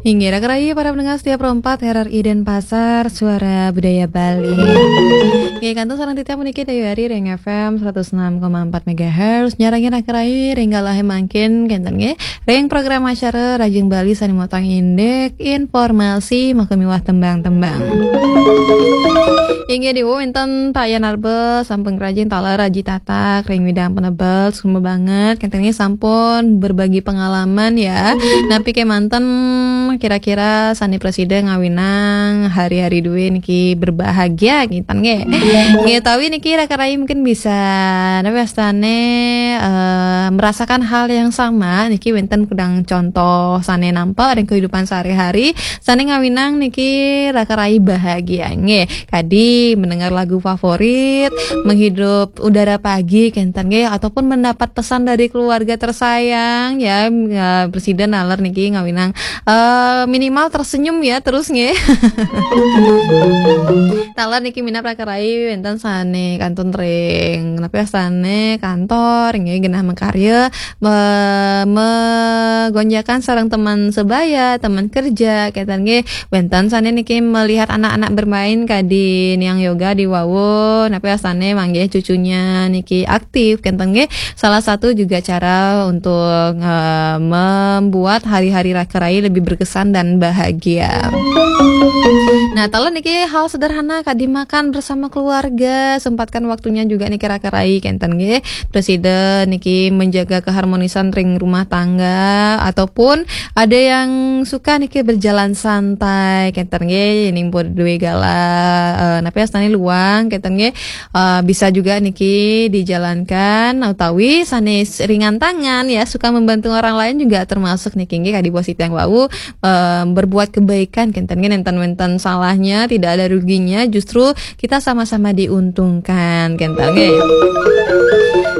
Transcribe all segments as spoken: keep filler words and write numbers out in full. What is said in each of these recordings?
Inggih, raka rayi para pendengar setia Pro empat R R I Denpasar, Suara Budaya Bali. Inggih, kantun sareng titiang puniki Dayu Ari ring F M seratus enam koma empat megahertz, nyarengin raka rayi ring galahé mangkin, kénten nggih, ring program acara Rajing Bali sané mautang indik informasi maka miwah tembang-tembang. Inggih, diwu wénten Pak Yan Arbe sampun ngrajin taler Aji Tatak ring widang penebel, suksma banget. Kénten nggih sampun berbagi pengalaman ya. Napi kémanten kira-kira sané prasida ngawinang hari-hari duwé niki berbahagia kénten nggih. Nggih, utawi niki raka rayi mungkin bisa napi wastané, eh, merasakan hal yang sama niki wénten kudang contoh sané nampak ring kehidupan sehari-hari. Sané ngawinang niki raka rayi bahagia nggih. Kadi mendengar lagu favorit, menghirup udara pagi kénten nggih, ataupun mendapat pesan dari keluarga tersayang ya, ya, prasida naler niki ngawinang, eh, minimal tersenyum ya terus nggih. Taler niki minab raka rayi wénten sané kantun ring, napi wastané kantor nggih genah makarya, me-, megonjakan sareng teman sebaya, teman kerja, kénten nggih. Wénten sané niki melihat anak-anak bermain kadi niang yoga di wau, napi wastané manggih cucunya niki aktif, kénten nggih. Salah satu juga cara untuk, eh, membuat hari-hari raka rayi lebih berkesan dan bahagia. Nah, taler niki hal sederhana kadi makan bersama keluarga, sempatkan waktunya juga niki raka rayi, kénten nggih. Prasida niki menjaga keharmonisan ring rumah tangga, ataupun ada yang suka niki berjalan santai, kénten nggih, ning pun duwe galah, eh, napi wastané luang, kénten nggih, eh, bisa juga niki dijalankan, utawi sané ringan tangan ya, suka membantu orang lain juga termasuk niki nggih, kadi bos titiang wau, eh, berbuat kebaikan, kénten nggih, nénten wénten salahnya, tidak ada ruginya, justru kita sama-sama diuntungkan, kénten nggih.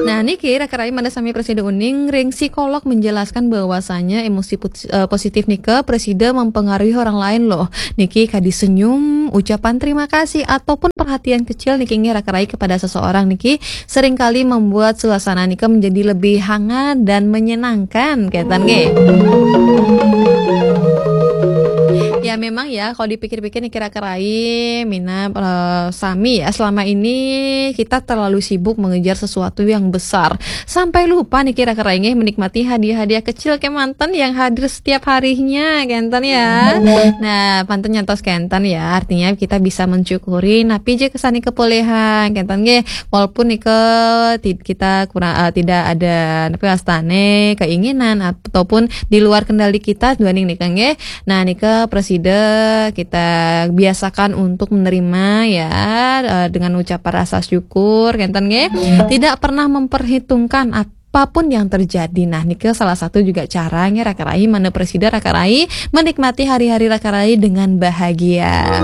Nah, niki raka rayi mangda sami prasida uning ring psikolog menjelaskan bahwasanya emosi put-, eh, positif nika prasida mempengaruhi orang lain loh. Niki kadi senyum, ucapan terima kasih ataupun perhatian kecil niki nggih raka rayi kepada seseorang niki seringkali membuat suasana nika menjadi lebih hangat dan menyenangkan, kénten nggih. Ya, memang ya, kalau dipikir-pikir niki raka rayi, minab, eh, sami ya, selama ini kita terlalu sibuk mengejar sesuatu yang besar. Sampai lupa niki raka rayi nggih menikmati hadiah-hadiah kecil kémanten yang hadir setiap harinya, kénten ya. Nah, pantun nyantos kénten ya, artinya kita bisa mensyukuri napi ja sané kapoléhan, kénten nggih. Walaupun nika ti-, kita kurang, eh, tidak ada napi wastané keinginan ataupun di luar kendali kita duaning nika nggih. Nah, nika prasida kita biasakan untuk menerima ya, eh, dengan ucapan rasa syukur, kénten nggih. Tidak pernah memperhitungkan apapun yang terjadi. Nah, nika salah satu juga cara nggih raka rayi mangda prasida raka rayi menikmati hari-hari raka rayi dengan bahagia.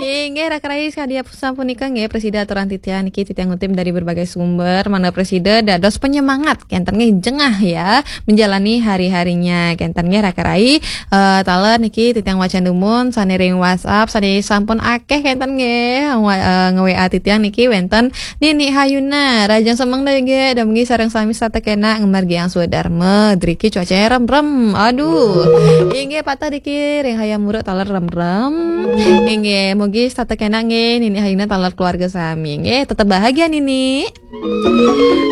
Inggih raka rayi sakadi sapunika nggih prasida aturang titiang niki titiang ngutip dari berbagai sumber, mangda prasida dados penyemangat kénten nggih jengah ya menjalani hari-harinya, kénten nggih raka rayi. Eh, taler niki titiang wacan dumun sané ring WhatsApp sané sampun akéh kénten nggih. Wa-, eh, nge-W A titiang niki wénten Nini Hayuna, rahajeng semeng Dayu nggih, dumugi sareng sami setata kénak ngamargiang swadarma, driki cuacanya remrem. Aduh. Inggih pateh driki ring hayam muruk taler remrem. Inggih, mugi setata kénak nggih, Nini Hayuna taler keluarga sami nggih, tetep bahagia Nini.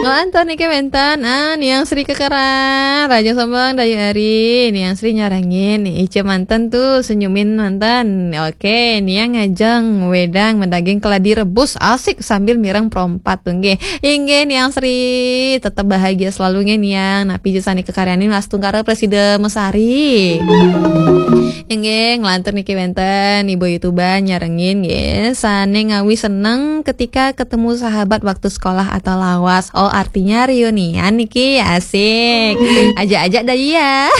Nglantur niki wénten, ah, Niang Sri Kekeran, rahajeng semeng Dayu Ari, Niang Sri nyarengin, ica manten tuh, senyumin manten. Oke, Niang ngajeng wedang madaging keladi rebus, asik sambil mireng Pro empat tuh nggih. Inggih Niang Sri, tetep bahagia selalu nggih Niang. Napi ja sané kakaryanin astungkara prasida mesari. Inggih, nglantur niki wénten Ibu Yutuban nyarengin nggih. Sané ngawi seneng ketika ketemu sahabat waktu sekolah atau lawas. Oh, artinya reunian niki, asik. Ajak-ajak dah iya.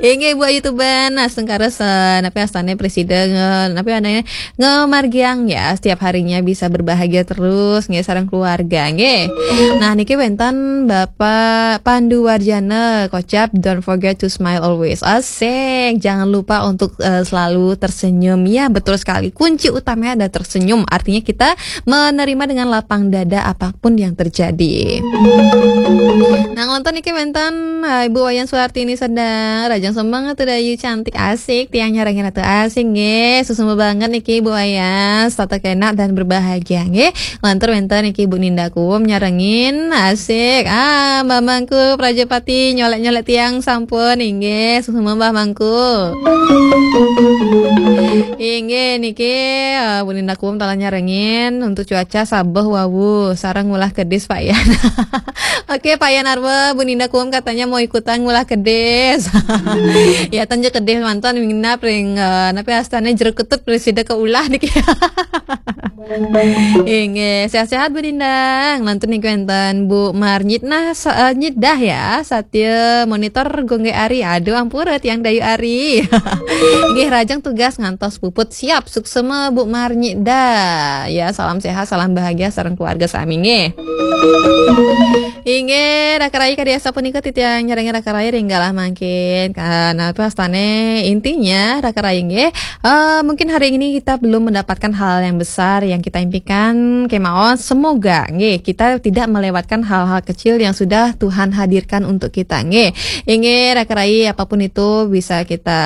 Inggih Ibu Yutuban, astungkara se-, napi wastané prasida nge-, napi wastané ngamargiang ya setiap harinya bisa berbahagia terus nggih. sareng keluarga nggih. Nah, niki wénten Bapak Pandu Warjana kocap, "Don't forget to smile always." Asik, jangan lupa untuk eh, selalu tersenyum. Ya, betul sekali. Kunci utamanya ada tersenyum. Artinya kita menerima dengan lapang dada apapun yang terjadi. Nah, nonton niki wénten eh, Ibu Wayan Suartini sedang rajang semangat tuh dayu cantik asik tiang nyarengin ratu asik nggih. Susu banget niki Ibu Wayan, tetap enak dan berbahagia nggih. Lantur wénten niki Ibu Ninda Kuum nyarengin asik. Ah, Mbah Mangku Prajapati nyolek-nyolek tiang sampun inggih. Susu Mbah Mangku. Inggih niki eh, Bu Ninda Kuum talah nyarengin untuk cuaca sabeh wawu sareng ngulah kedis Pak Yan. Oke, Pak Yan Arwa, Bu Ninda Kuum katanya mau ikutan ngulah kedis. Ya, tenje kedis mantan minap ring eh, napi astane jeruk ketut presida ke ulah niki. Inggih, sehat-sehat Bu Ninda. Nglantur niki wénten Bu Marnyit nah sa- eh, Nyidah ya, Satya monitor gongge ari. Aduh, ampura tiang dayu ari. Nggih, rajang tugas ngantos puput siap. Suksema Bu Marnyida. Ya, salam sehat, salam bahagia sareng keluarga sami nggih. Inggih, Raka Rai kadi asa punika titiang nyarengin Raka Rai ring galah mangkin. Karena apa astane intinya Raka Rai nggih. Eh, mungkin hari ini kita belum mendapatkan hal yang besar yang kita impikan kemauan. Semoga nggih kita tidak melewatkan hal-hal kecil yang sudah Tuhan hadirkan untuk kita nggih. Inggih Raka Rai, apapun itu bisa kita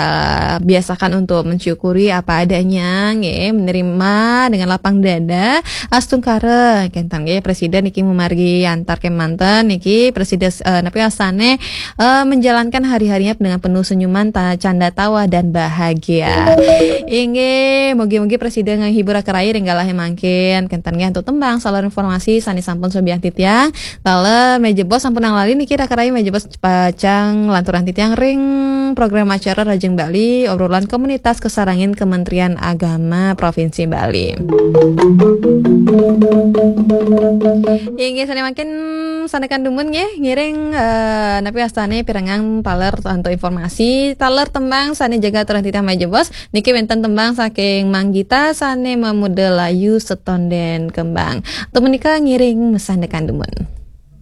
biasakan untuk mensyukuri apa adanya nggih, menerima dengan lapang dada. Astungkara kenten nggih presiden niki memargi antar kemanten niki presiden eh, napi asane eh, menjalankan hari-harinya dengan penuh senyuman, ta- canda tawa dan bahagia. Inggih, mugi-mugi presiden menghibur Raka Rai ring galah mangkin. Kenten nggih antuk tembang salur informasi sane sampun sobiah titiang. Taler meja bos sampun nang lali niki Raka Rai meja bos pacang lanturan titiang ring program acara Rajeng Bali, obrolan komunitas kesarengin Kementerian Agama Provinsi Bali. Inggih sane mangkin sandekan dumun nggih ngiring eh, napi astane pirengang taler antuk informasi, taler tembang sane jaga aturan titiang meja bos. Niki wénten tembang saking Manggita sane mamudel layu setonden kembang. Temenika ngiring sandekan dumun.